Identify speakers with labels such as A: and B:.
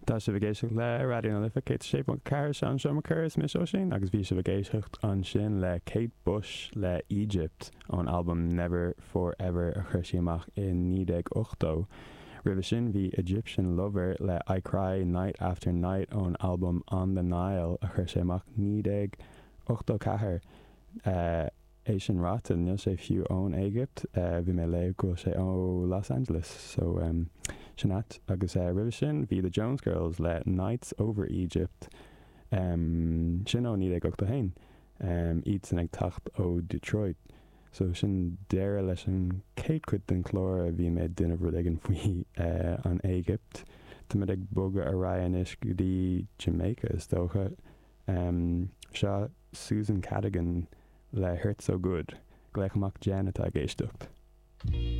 A: Tá sibh ag éisteacht le Raidió na Life 106.4 Seán Schumacher is mise Oisín agus bhí sibh ag éisteacht ansin le Kate Bush le Egypt ón albam Never For Ever a chuir sí amach i 1980. Roimhe sin bhí Egyptian Lover le I Cry Night After Night ón albam On The Nile a chuir sé amach 1984. É sin ráite, níl sé fiú ón Éigipt, bhí mé ag léamh go bhfuil sé ó Los Angeles, so sin ait. Agus roimhe sin bhí The Jones Girls le Nights Over Egypt, sin ó 1981, iadsan ag teacht ó Detroit. So sin deireadh leis an chéad chuid den chlár a bhí mé ag déanamh rud éigin faoi an Éigipt. Táimid ag bogadh ar aghaidh anois go dtí Jamaica is dócha. Seo Susan Cadogan le Hurt So Good. Glaoch amach Jen atá ag éisteacht.